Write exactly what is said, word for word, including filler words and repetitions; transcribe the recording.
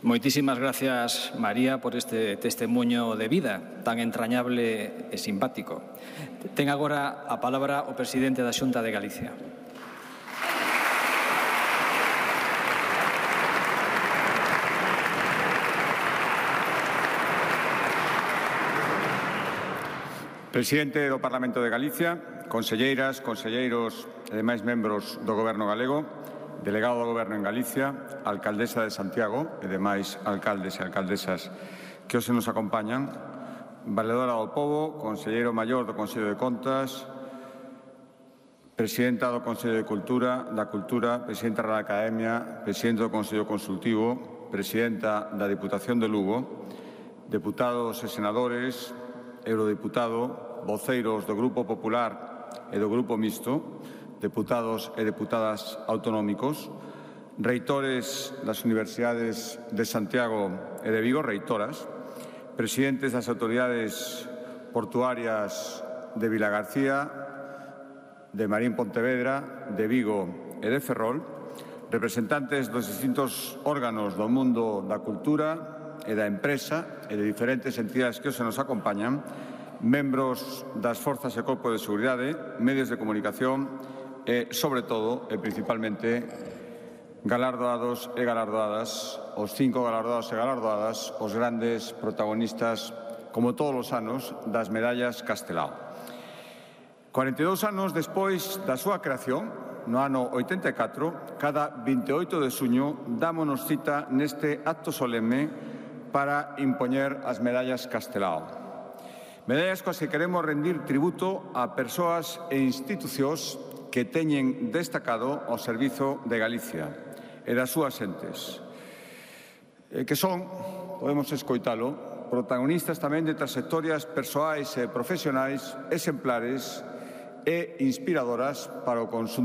Moitísimas gracias, María, por este testemunho de vida tan entrañable e simpático. Ten agora a palabra o presidente da Xunta de Galicia. Presidente do Parlamento de Galicia, conselleiras, conselleiros e demais membros do Goberno galego, delegado do Goberno en Galicia, alcaldesa de Santiago e demais alcaldes e alcaldesas que hoxe nos acompañan, valedora do Pobo, conselleiro maior do Consello de Contas, presidenta do Consello de Cultura, da Cultura, presidenta da Academia, presidente do Consello Consultivo, presidenta da Diputación de Lugo, deputados e senadores, eurodiputado, voceiros do Grupo Popular e do Grupo Mixto, deputados e deputadas autonómicos, reitores das Universidades de Santiago e de Vigo, reitoras, presidentes das autoridades portuarias de Vilagarcía, de Marín Pontevedra, de Vigo e de Ferrol, representantes dos distintos órganos do mundo da cultura e da empresa e de diferentes entidades que hoxe nos acompañan, membros das forzas e corpos de seguridade, medios de comunicación e, sobre todo, e principalmente, galardoados e galardoadas, os cinco galardoados e galardoadas, os grandes protagonistas, como todos os anos, das medallas Castelao. cuarenta e dous anos despois da súa creación, no ano oitenta e catro, cada vinte e oito de xuño dámonos cita neste acto solemne para impoñer as medallas Castelao. Medallas coas que queremos rendir tributo a persoas e institucións que teñen destacado ao servizo de Galicia e das súas entes, que son, podemos escoitalo, protagonistas tamén de trayectorias persoais e profesionais exemplares e inspiradoras para o conxunto